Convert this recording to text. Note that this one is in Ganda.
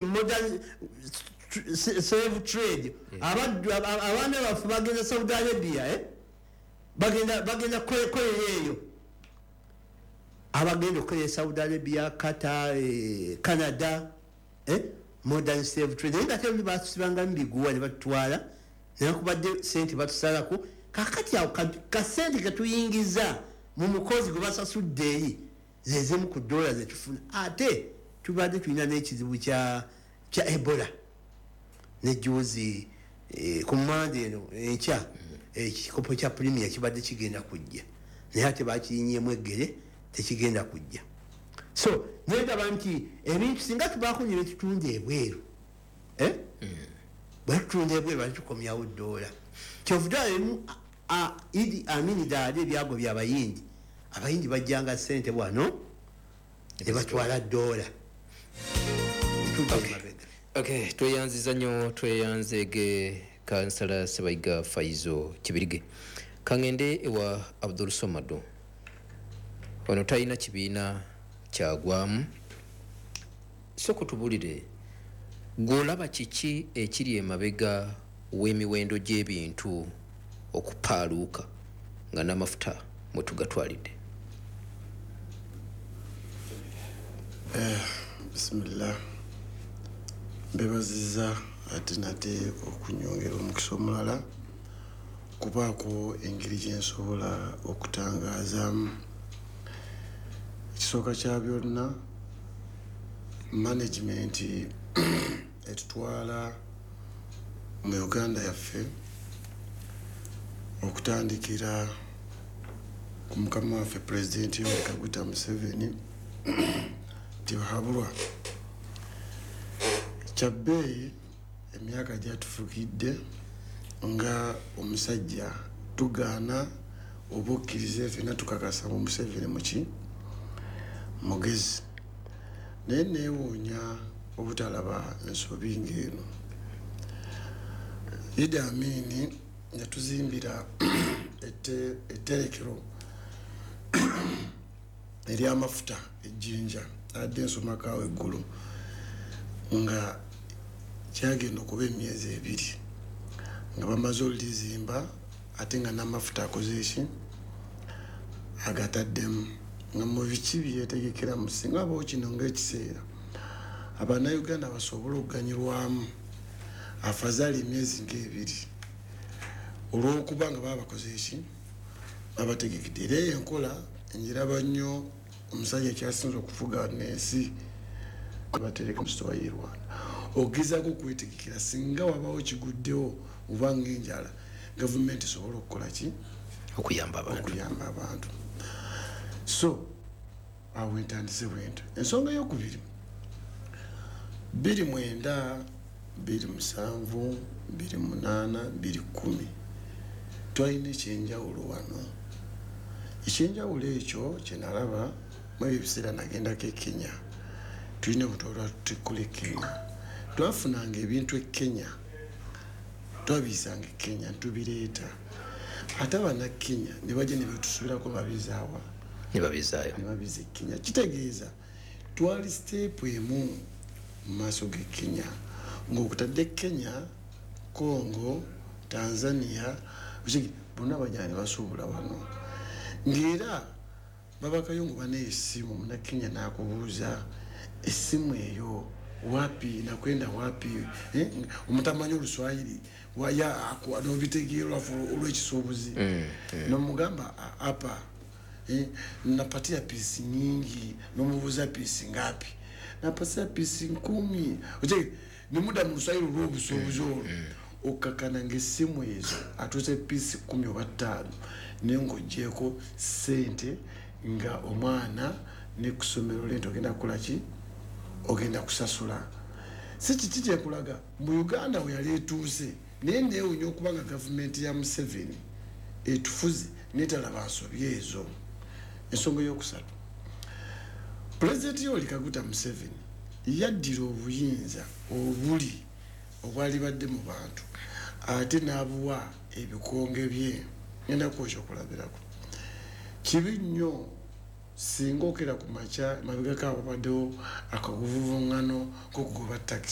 Modern slave trade. Abaddu, abaana baffe bagenda Saudi Arabia, eh? Bagenda kolera eyo, abagenda okukolera Saudi Arabia, Qatar, Canada, eh? Modern slave trade. Naye nga te batusibangamu biguwa ne batutwala, newankubadde sente batusalako. Kakati awo kasente ketuyingiza mu mukozi gwe basasudde eri zezimu ku dola zetufuna. Ate tubadde tulina n'ekizibu kya Ebola nejuzi, ku Mande eno enkya ekikopo kya Premier kibadde kigenda kujja, naye ate bakirinyemu eggere, tekigenda kujja. So nendaba nti ebintu singa tubaako ne betutunda ebweru, eh? Bwe tutunda ebweru ate tukomyawo dola. Kyovudde emu Idi Amini daali ebyago byabayindi, abayindi bajjanga sente wano ne batwala dola. Tudde emabega. Okay, tweyanziza nnyo, tweyanzeege Kansala Sebayiga Faizo Kibirige. Kaŋŋende ewa Abdul Somado. Ono talina kibiina kyagwamu. Sooka otubulire, gw'olaba kiki ekiri emabega w'emiwendo gy'ebintu okupaaluuka nga n'amafuta mwe tugatwalidde? Bisimillah, mbebaziza ate nate okunyongera omukisa omulala kubaako engeri gyensobola okutangazaamu. Ekisooka kya byonna, management etutwala mu Uganda yaffe, okutandikira ku mukama waffe Pulezidenti Yoweri Kaguta Museveni, tibahabulwa kyabbeeyi. Emyaka gyatufukidde nga omusajja tugaana oba okkiriza, fena tukakasa mu Museveni muki mugezi, naye neewuunya obutalaba ensobi ng'eno. Idi Amini yatuzimbira etterekero eryamafuta ejjinja adde ensomakawo eggulu, nga kyagenda okuba emyezi 2 nga bamaze olulizimba, ate nga n'amafuta akoze eki agataddemu, nga mu biki byetegekeramu. Singa abawo kino ngaekiseera Abannayuganda basobole okuganyulwamu afazaali emyezi ngaebiri, olwokuba nga baba bakoze eki babategekedde. Era eyo enkola njiraba nnyo. Omusajja kyasinza okufuga nensi batereka musitowa ye Rwanda, ogezaako okwetegekera singa wabawo kiguddewo oba ngaenjala, gavumenti esobole okukola ki? Okuyamba abantu. Okuyamba abantu. So awo entandise bwento. Ensonga eyokubiri, 2009, 2007, 2008, 2010, twalina ekyenjawulo wano. Ekyenjawulo ekyo kyenalaba mu ebyo ebiseera, nagendako e Kenya, tulina obutwalwa tukola e Kenya, twafunanga ebintu e Kenya, twabiyisanga e Kenya ntubireeta, ate Abannakenya ne bajja ne betusubirako babizaawa. Ne babizaayo. Ne babiza e Kenya. Kitegeeza twali step emu mu maaso g'e Kenya, ng'okutadde Kenya, Congo, Tanzania, bonna bajja ne basuubula wano, ng'era babakayo ngo bana essimu, Munakenya n'akubuuza essimu eyo wapi, nakwenda wapi, eh? Omutamanyi Oluswayiri nobitegeera olwekisuubuzi, nomugamba apa, eh, napatia pieces nyingi, nomubuuza pieces ngapi, napatia pieces 10. Nemuda mu Luswayiri olw'obusuubuzi olwo, okakana ngaessimu ezo atuuse pieces 10 oba 5, naye ng'ogyeko sente nga omwana ne kusomero lenti ogenda kukola ki, ogenda kusasula. Si kiki kyekulaga mu Uganda we yali etuuse, naye neewunya okuba nga gavumenti ya Museveni etufuze netalaba nsobi ezo. Ensonga eyokusatu, Pulezidenti Yoweri Kaguta Museveni yaddira obuyinza obuli obwali badde mu bantu, ate n'abuwa ebikonge bye. Ngenda kuwa ekyokulabirako. Kibi nnyo singa okera ku makya, mabegako ababaddewo akaguvuvuŋŋano k'okugoba takisi.